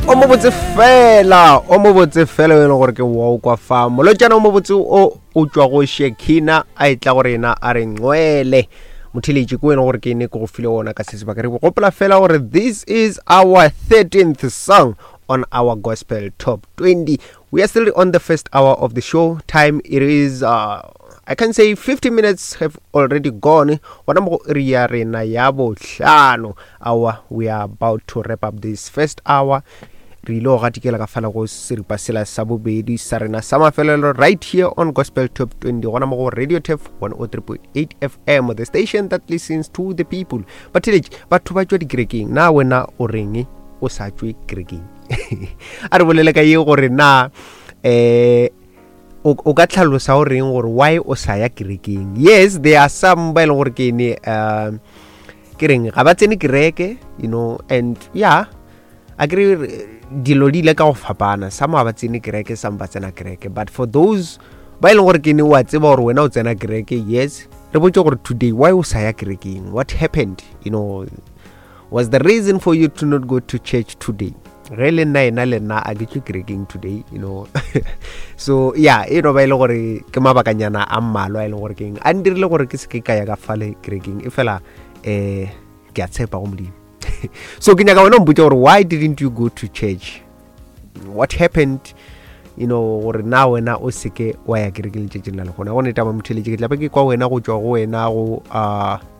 O mobotse fela, o mobotse fela e leng gore ke wa o kwa fa. Molotšana o mobotse o o tšwa go Shekina a etla go rena a re ngwele. Motheletši ke wena gore ke ne ke go file wona ka se sebaka. Re gopola fela gore this is our 13th song on our gospel top 20. We are still on the first hour of the show. Time it is I can say 50 minutes have already gone. Gona mo go iri ya rena ya bohlano. Hour we are about to wrap up this first hour. Re ile go gatikela ka fala go seripa sela sa bobedi sa rena sa mafelelo right here on Gospel Top 20 gona mo go Radio Turf 103.8 FM, the station that listens to the people. Batheletši, batho ba tšwa dikerekeng, na wena o reng o sa tšwe kerekeng? A re bolele ka ye gore na eh o ka tlhalosa o reng gore why o sa ya kerekeng. Yes, there are some ba e leng gore ke ene um ke reng ga ba tsene kereke, you know, and yeah, a kere dilo di ile ka go fapana. Some ga ba tsene kereke, some ba tsena kereke, but for those ba e leng gore ke ne wa tseba gore wena o tsena kereke, yes, re botse gore today why o sa ya kerekeng, what happened, you know, was the reason for you to not go to church today. Ge le nna ena le nna a ke tšwe kerekeng today, you know. So yeah, e no ba e le gore ke mabakanyana a mmalwa e leng gore keng a ndirile gore ke se ke ka ya ka fale kerekeng, e fela ke a tshepa go Modimo. So ke nyaka wena o mpotse gore why didn't you go to church, what happened, you know, gore na wena o seke wa ya kerekeng letšatšing la legona. Go netaba motheletše ke tlabe ke kwa wena go tšwa go wena go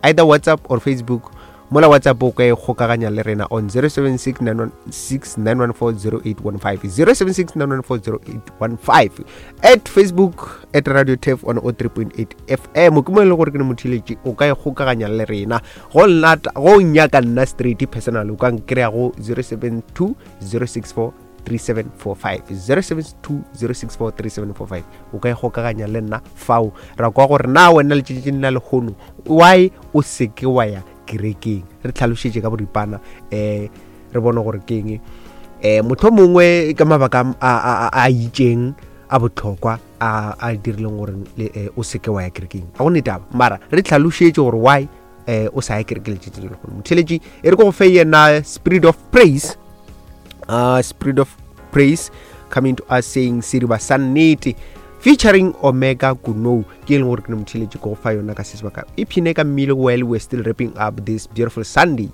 either WhatsApp or Facebook. Mola WhatsApp o ka e kgokaganya le rena on 0769140815, 0769140815, at Facebook at Radio Turf 103.8 FM ke mo e leng gore ke ne motheletše o ka e kgokaganya le rena. Go nna go nyaka nna straight personal o ka nkry-a go 072 064 3745, 072 064 3745. O ka e kgokaganya le nna fao ra kwa gore na wena letšatšing la lehono why o seke wa ya kerekeng. Re tlhalošetše ka boripana, re bone gore keng, motlho mongwe ka mabaka a itšeng a botlhokwa a dirileng gore o seke wa ya kerekeng. Ga go ne taba, mara re tlhalošetše gore why o sa ya kerekeng letšatši le lehono. Motheletši e re ko go fe yena Spirit of Praise, Spirit of Praise coming to us saying Seriba sa nnete featuring Omega Kunou, ke e leng gore ke ne motheletši ko go fa yona ka se sebaka. Iphine ka mmile while we're still wrapping up this beautiful Sunday.